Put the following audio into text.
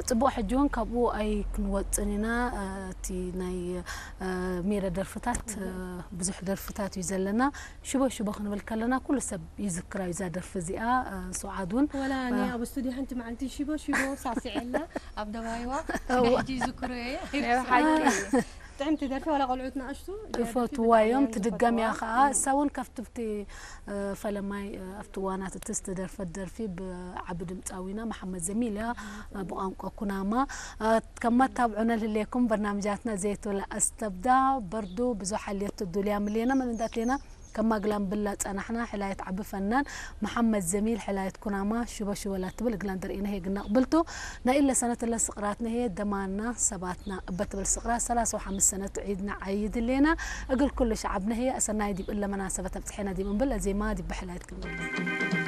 ጽቡቕ። ሕጂ እውን ካብኡ ኣይክንወጽን ኢና። እቲ ናይ ሜረ ደርፍታት ብዙሕ ደርፍታት እዩ ዘለና። ሽቦ ሽቦ ክንብል ከለና ኩሉ ሰብ ይዝክራ እዩ እዛ ደርፊ እዚኣ። ሱዓድ እውን ወላ እኔ ኣብ ስቱዲዮ ሓንቲ መዓልቲ ሽቦ ሽቦ ሳስዐላ ኣብ ደባይዋ ሕጂ ይዝክሮ እየ። ጥዕምቲ ደርፊ ዋላ ቆልዑት ንኣሽቱ ይፈትዋ እዮም። ትድገም እያ ከዓ። እሳ እውን ካብቲ ኣብቲ ፈለማይ ኣብቲ ዋናት እቲ ዝተደርፈት ደርፊ ብዓቢ ድምፃዊና መሓመድ ዘሚል እያ። ብቋንቋ ኩናማ። ከም መታብዑ ነልህልየኩም በርናምጃትና ዘይትብላ ኣስተብዳ በርዱ ብዙሕ ሓልየት ትዱልያ ምልየና መን እንዳትሌና ከማግላም ብላ ጸናሕና። ሕላየት ዓቢ ፈናን መሓመድ ዘሚል ሕላየት ኩናማ ሽቦ ሽቦላ ትብል እግላን ደርኢና ሄግና ቅብልቱ ናይ ኢለ ሰነት እለ ስቕራት ነሄ ደማና ሰባትና እበትብል ስቕራት ሰላሳ ወሓምስ ሰነት ዒድና ዓይድሌና እግል ኩሉ ሸዓብ ነሄ ኣሰናይ ዲብ እለ መናሰበት ኣብጽሐና ዲብ እምብል ኣዜማ ዲብ ብሕላየት ክንብል